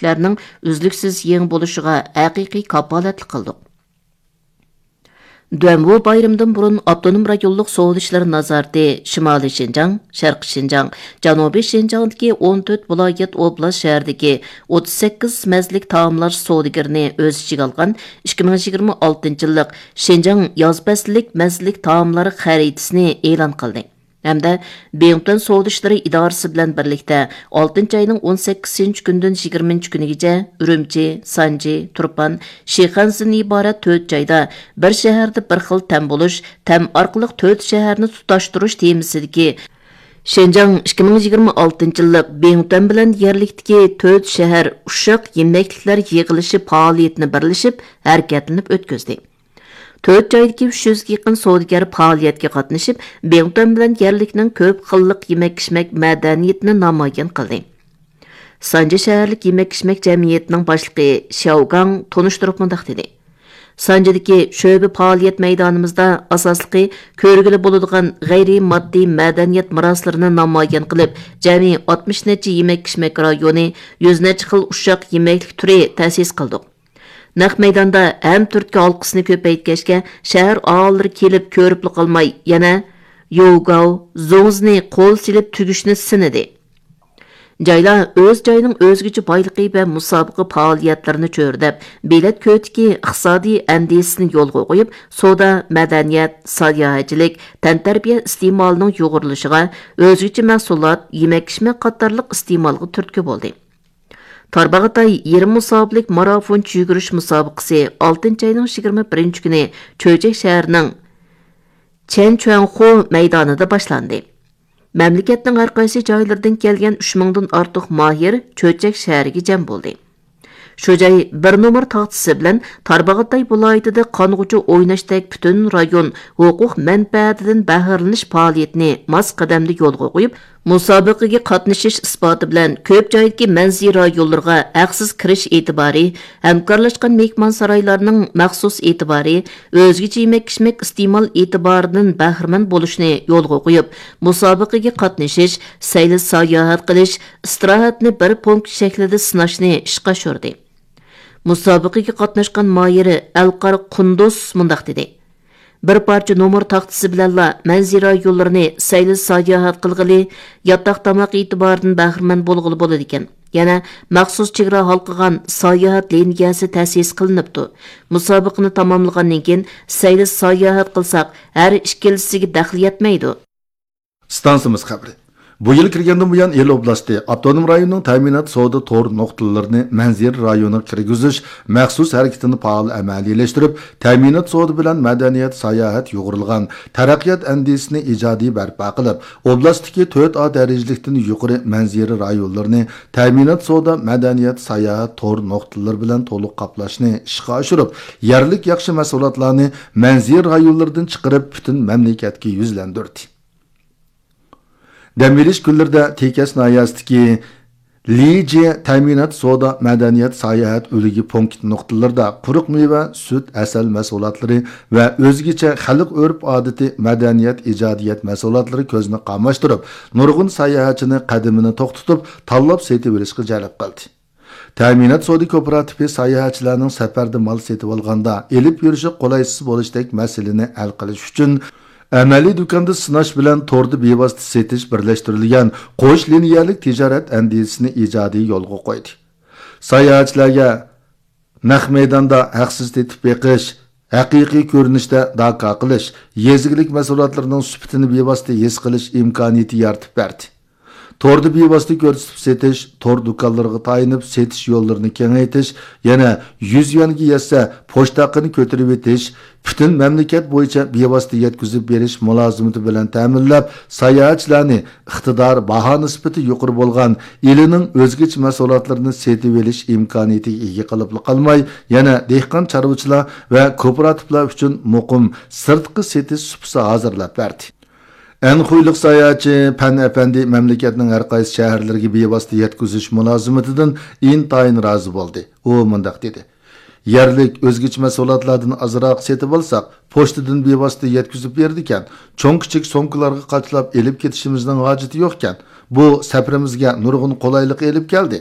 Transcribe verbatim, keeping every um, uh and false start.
ئىشلارنىڭ ئۈزلۈكسىز يېڭى بولۇشىغا ھەقىقىي كاپالەتلىك قىلدۇق. دۇەنۋۇ بايرىمىدىن بۇرۇن ئاپتونوم رايونلۇق سودا ئىشلىرى نازارىتى شىمالىي شىنجاڭ، شەرقىي شىنجاڭ، جەنۇبىي شىنجاڭدىكى ئون تۆت ۋىلايەت، ئوبلاست، شەھەردىكى ئوتتۇز سەككىز مەززىلىك تائاملار سودىگىرىنى ئۆز ئىچىگە ئالغان ئىككى مىڭ يىگىرمە ئالتىنچى يىللىق شىنجاڭ ياز پەسلىك مەززىلىك تائاملار خەرىتىسىنى ئېلان قىلدى. ھەمدە بىڭتۈەن سودا ئىشلىرى ئىدارىسى بىلەن بىرلىكتە ئالتىنچى ئاينىڭ ئون سەككىزىنچى كۈنىدىن يىگىرمىنچى كۈنىگىچە ئۈرۈمچى، سانجى، تۇرپان، شىخەنزىدىن ئىبارەت تۆت جايدا بىر شەھەردە بىر خىل تەم بولۇش، تەم ئارقىلىق تۆت شەھەرنى تۇتاشتۇرۇش تېمىسىدىكى شىنجاڭ ئىككى مىڭ يىگىرمە ئالتىنچى يىللىق بىڭتۈەن بىلەن يەرلىكتىكى تۆت شەھەر ئۇششاق يېمەكلىكلەر يىغىلىشى پائالىيىتىنى بىرلىشىپ ھەرىكەتلىنىپ ئۆتكۈزدى. تۆت جايدىكى ئۈچ يۈزگە يېقىن سودىگەر پائالىيەتكە قاتنىشىپ، بىڭتۈەن بىلەن يەرلىكنىڭ كۆپ خىللىق يېمەك-ئىچمەك مەدەنىيىتىنى نامايان قىلدى. سانجى شەھەرلىك يېمەك-ئىچمەك جەمئىيىتىنىڭ باشلىقى شياۋ گاڭ تونۇشتۇرۇپ مۇنداق دېدى: سانجىدىكى شۆبە پائالىيەت مەيدانىمىزدا ئاساسلىقى كۆرگىلى بولىدىغان غەيرىي ماددىي مەدەنىيەت مىراسلىرىنى نامايان قىلىپ، جەمئىي ئاتمىش نەچچە يېمەك-ئىچمەك رايونى، يۈز نەچچە خىل ئۇششاق يېمەكلىك تۈرى تەسىس قىلدۇق. نەق مەيداندا ھەم تۈرتكە ھالقىسىنى كۆپەيتكەچكە، شەھەر ئاھالىلىرى كېلىپ كۆرۈپلا قالماي، يەنە يوگاۋ، زوڭزىنى قول سېلىپ تۈگۈشنى سىنىدى. جايلار ئۆز جايىنىڭ ئۆزگىچە بايلىقى ۋە مۇسابىقە پائالىيەتلىرىنى چۆرىدەپ، بېلەت كۆۋرۈكى ئىقتىسادىي ئەندىزىسىنى يولغا قويۇپ، سودا، مەدەنىيەت، ساياھەتچىلىك، تەنتەربىيە ئىستېمالىنىڭ يۇغۇرۇلۇشىغا، ئۆزگىچە مەھسۇلات، يېمەك-ئىچمەك قاتارلىق ئىستېمالغا تۈرتكە بولدى. تارباغاتاي يېرىم مۇساپىلىك مارافونچە يۈگۈرۈش مۇسابىقىسى ئالتىنچى ئاينىڭ يىگىرمە بىرىنچى كۈنى چۆچەك شەھىرىنىڭ چەنچۈەنخۇ مەيدانىدا باشلاندى. مەملىكەتنىڭ ھەر قايسى جايلىرىدىن كەلگەن ئۈچ مىڭدىن ئارتۇق ماھىر چۆچەك شەھىرىگە جەم بولدى. شۇ جاي بىر نومۇر تاختىسى بىلەن تارباغاتاي ۋىلايىتىدە قانغۇچە ئويناشتەك پۈتۈن رايون ھوقۇق مەنپەئەتىدىن بەھرىلىنىش پائالىيىتىنى ماس قەدەمدە يولغا قويۇپ، مۇسابىقىگە قاتنىشىش ئىسپاتى بىلەن كۆپ جايدىكى مەنزىرە رايونلىرىغا ھەقسىز كىرىش ئېتىبارى، ھەمكارلاشقان مېھمانسارايلارنىڭ مەخسۇس ئېتىبارى، ئۆزگىچە يېمەك-ئىچمەك ئىستېمال ئېتىبارىدىن بەھرىمەن بولۇشنى يولغا قويۇپ، مۇسابىقىگە قاتنىشىش، سەيلە ساياھەت قىلىش، ئىستىراھەتنى بىر پونكىت شەكلىدە سىناشنى ئىشقا ئاشۇردى. مۇسابىقىگە قاتناشقان ماھىرى ئەلقار قۇندۇز مۇنداق دېدى: بىر پارچە نومۇر تاختىسى بىلەنلا مەنزىرە رايونلىرىنى سەيلە ساياھەت قىلغىلى، ياتاق تاماق ئېتىبارىدىن بەھرىمەن بولغىلى بولىدىكەن. يەنە مەخسۇس چېگرا ھالقىغان ساياھەت لىنىيەسى تەسىس قىلىنىپتۇ. مۇسابىقىنى تاماملىغاندىن كېيىن سەيلە ساياھەت قىلساق، ھەر ئىككىلىسىگە دەخلى يەتمەيدۇ. ئىستانسىمىز خەۋىرى. بۇ يىل كىرگەندىن بۇيان، ئىلى ئوبلاستى ئاپتونوم رايونىنىڭ تەمىنات سودا تور نۇقتىلىرىنى مەنزىرە رايونىغا كىرگۈزۈش مەخسۇس ھەرىكىتىنى پائال ئەمەلىيلەشتۈرۈپ، تەمىنات سودا بىلەن مەدەنىيەت، ساياھەت يۇغۇرۇلغان تەرەققىيات ئەندىزىسىنى ئىجادىي بەرپا قىلىپ، ئوبلاستتىكى تۆت ئا دەرىجىلىكتىن يۇقىرى مەنزىرە رايونلىرىنى تەمىنات سودا، مەدەنىيەت، ساياھەت تور نۇقتىلىرى بىلەن تولۇق قاپلاشنى ئىشقا ئاشۇرۇپ، يەرلىك ياخشى مەھسۇلاتلارنى مەنزىرە رايونلىرىدىن چىقىرىپ، پۈتۈن مەملىكەتكە يۈزلەندۈردى. دەم ئېلىش كۈنلىرىدە تېكەس ناھىيەسىدىكى لىجيې تەمىنات سودا، مەدەنىيەت، ساياھەت ئۈلگە پونكىت نۇقتىلىرىدا قۇرۇق مېۋە، سۈت، ھەسەل مەھسۇلاتلىرى ۋە ئۆزگىچە خەلق ئۆرپ-ئادىتى، مەدەنىيەت، ئىجادىيەت مەھسۇلاتلىرى كۆزنى قاماشتۇرۇپ، نۇرغۇن ساياھەتچىنى قەدىمىنى توختىتىپ، تاللاپ سېتىۋېلىشقا جەلپ قىلدى. تەمىنات سودا كوپىراتىپى ساياھەتچىلەرنىڭ سەپەردە مال سېتىۋالغاندا ئېلىپ يۈرۈشى قولايسىز بولۇشتەك مەسىلىنى ھەل قىلىش ئۈچۈن، ئەمەلىي دۇكاندا سىناش بىلەن توردا بىۋاسىتە سېتىش بىرلەشتۈرۈلگەن قوش لىنىيەلىك تىجارەت ئەندىزىسىنى ئىجادىي يولغا قويدى. ساياھەتچىلەرگە نەق مەيداندا ھەقسىز تېتىپ بېقىش، ھەقىقىي كۆرۈنۈشتە داكا قىلىش، يېزا ئىگىلىك مەھسۇلاتلىرىنىڭ سۈپىتىنى بىۋاسىتە ھېس قىلىش ئىمكانىيىتى يارىتىپ بەردى. توردا بىۋاسىتە كۆرسىتىپ سېتىش، تور دۇكانلىرىغا تايىنىپ سېتىش يوللىرىنى كېڭەيتىش، يەنە يۈز يۈەنگە يەتسە، پوچتا ھەققىنى كۆتۈرۈۋېتىش، پۈتۈن مەملىكەت بويىچە بىۋاسىتە يەتكۈزۈپ بېرىش مۇلازىمىتى بىلەن تەمىنلەپ، ساياھەتچىلەرنى ئىقتىدار، باھا نىسبىتى يۇقىرى بولغان ئىلىنىڭ ئۆزگىچە مەھسۇلاتلىرىنى سېتىۋېلىش ئىمكانىيىتىگە ئىگە قىلىپلا قالماي، يەنە دېھقان، چارۋىچىلار ۋە كوپىراتىپلار ئۈچۈن مۇقىم سىرتقى سېتىش سۇپىسى ھازىرلاپ بەردى. ئەنخۇيلۇق ساياھەتچى پەن ئەپەندى مەملىكەتنىڭ ھەر قايسى شەھەرلىرىگە بىۋاسىتە يەتكۈزۈش مۇلازىمىتىدىن ئىنتايىن رازى بولدى. ئۇ مۇنداق دېدى: يەرلىك ئۆزگىچە مەھسۇلاتلاردىن ئازراق سېتىۋالساق، پوچتىدىن بىۋاسىتە يەتكۈزۈپ بېرىدىكەن، چوڭ-كىچىك سومكىلارغا قاچىلاپ ئېلىپ كېتىشىمىزنىڭ ھاجىتى يوقكەن. بۇ سەپىرىمىزگە نۇرغۇن قولايلىق ئېلىپ كەلدى.